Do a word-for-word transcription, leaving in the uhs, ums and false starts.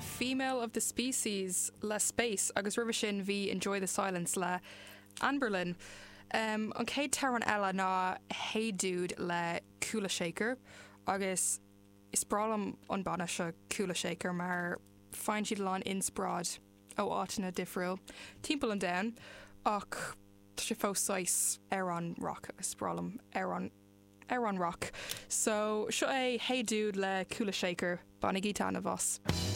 Female of the Species le Space agus roimhe sin bhí Enjoy the Silence le Anberlin. Um, an chéad amhrán eile ná Hey Dude le Kula Shaker agus is breá liom an banna seo Kula Shaker mar faigheann siad lán inspioráid ó áiteanna difriúil timpeall an domhain ach tá sé fós saghas amhrán rock agus breá liom amhrán amhrán rock. So seo é Hey Dude le Kula Shaker bainigí taitneamh as.